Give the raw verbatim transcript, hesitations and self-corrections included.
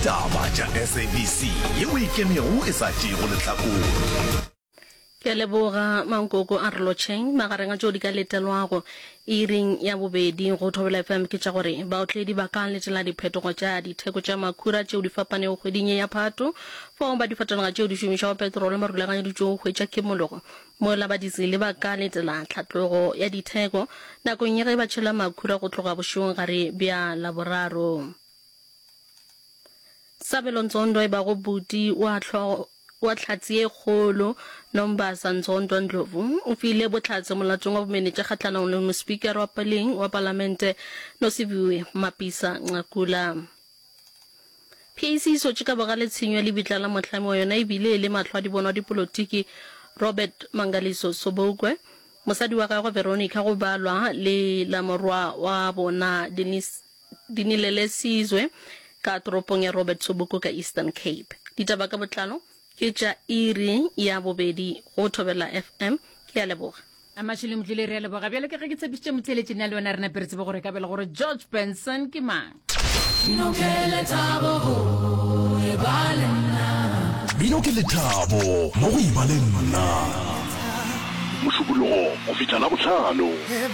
Taba tša S A B C yeo e ikemego e sa tšeego lehlakore. Ke a leboga Mankoko a re lotšheng. Magareng a tšeo di ka letelwago iring ya bobedi go Thobela F M ke tša gore baotledi ba ka letela diphetogo tša ditheko tša makhura tšeo di fapanego kgweding ye ya Phato, fao ba difatanaga tšeo di šomišago petrolo ba rulaganyeditšwego go hwetša kimologo, mola ba dizele ba ka letela tlhatlogo ya ditheko nakong ya ge ba tšhela makhura go tloga bošegong-gare bja Laboraro. Sabelo Ndzondo e bago buti wa hlogo wa Hlatse ye Kgolo Nombasa Ndzondo Ndlovu o file bohlatse molatong wa bomenetša kgahlanong le mospikara wa peleng wa palamente Nosiviwe Mapisa Nqakula. P A C e sotše ka bogale tshenyo ya lebitla la mohlami wa yona ebile e le mahlo a dibonwa dipolotiki Robert Mangaliso Sobukwe, mosadi wa gagwe Veronica go balwa le la morwa wa bona Denise Dinilelesizwe ka toropong ya Robert Sobukwe ka Eastern Cape. Ditaba ka botlalo ke tša iri ya bobedi go Thobela F M. Ke a leboga. Amashile Motlile, re a leboga. Bjalo ka ge ke tshepišitše motheeletši, nna le wena re nape re tsebe gore ka bjale gore George Benson ke mang. Mmino ke lethabo go e ba le nna. Mmino ke lethabo mo go e ba le nna. Mošupologo go fihla Labohlano.